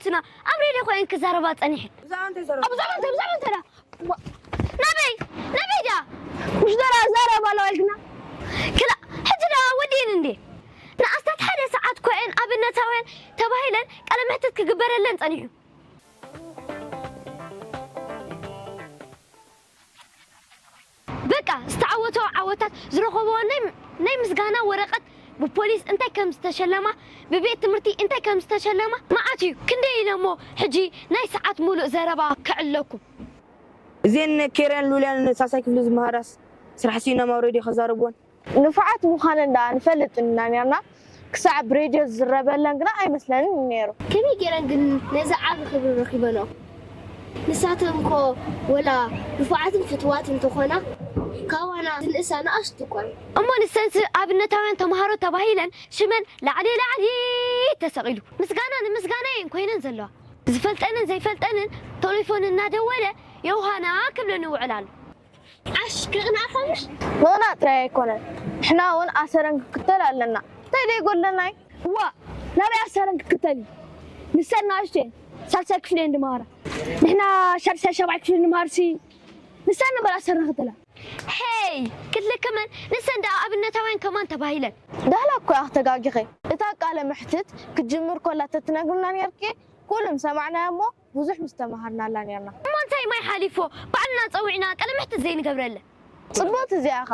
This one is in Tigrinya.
ትና ኣብ ሬድዮ ኮይን ክዛረባ ጸኒሕን። ብዛዕባ እንታይ ዘረባ? ብዛዕባ እንታይ? ብዛዕባ እንታይ ደኣ? ናበይ? ናበይ ደኣ? مش درا زارة ولا ويلكنا ክላ ሕጂ ደኣ ወዲእን እንዴ? ንኣስታት ሓደ ሰዓት ኮይን ኣብነታውያን ተባሂለን ቃለ መሕትት ክግበረለን ጸኒሑ። በቃ ዝተዓወተኦ ዓወታት ዝረኸበኦ ናይ ናይ ምስጋና ወረቐት ብፖሊስ እንታይ ከም ዝተሸለማ ብቤት ትምህርቲ እንታይ ከም ዝተሸለማ መዓት እዩ። ክንደይ ኢለ እሞ ሕጂ ናይ ሰዓት ሙሉእ ዘረባ ከዕለኩም። እዘን ኬርያን ሉልያን ሳልሳይ ክፍሊ ዝመሃራስ ስራሕ ስኢኖም ኣብ ሬድዮ ከዛርብወን። ንፉዓት ምዃነን ደኣ ንፈልጥ ኢና ነርና ክሳዕ ብሬድዮ ዝዝረበለን ግና ኣይመስለንን ነይሩ። ከመይ ገይረን ግን ነዚ ዓቢ ክብሪ ረኺበንኦ? ንሳተን እኮ ወላ ንፉዓትን ፍትዋት እንተኾና ካባና ዝንእሳ ንኣሽቱ እኳ እየን። እሞ ንሰንስ ኣብነታውያን ተምሃሮ ተባሂለን ሽመን ላዕሊ ላዕሊ ተሰቒሉ ምስጋና ንምስጋና እየን ኮይነን ዘለዋ። ዝፈልጠንን ዘይፈልጠንን ቴሌፎን እናደወለ ዮሃና ክብለኒ ይውዕል ኣሎ። ዓሽ ከቕንኣኻ ምሽ? ምቕናእ ጥራይ ኣይኮነን ንሕና እውን ኣሰረን ክክተል ኣለና እንታይ ደይጎድለና እዩ? እዋ ናበይ ኣሰረን ክክተል እዩ? ንሰን ንኣሽቱ እየን ሳልሳይ ክፍሊ እየን ድመሃራ ንሕና ሻድሻይ ሻብዓይ ክፍሊ ንምሃርሲ ንሰን ነበር ኣሰረን ክክተላ ሄይ ክትልክመን ንሰን ደኣ ኣብነታውያን ከማን ተባሂለን። ዳህላ እኮ እያ ክተጋጊኺ እታ ቃለ መሕትት ክትጅምር ኮላ ተትነግርና ነርኪ ኩሉ ምሰማዕናዮ እሞ ብዙሕ ምስተማሃርናላ ነርና። እሞ እንታይ ማይ ሓሊፎ ባዕልና ጸዊዕና ቀለምሕትት ዘይንገብረለ። ጽቡቕቲ እዚኣ ኢኻ።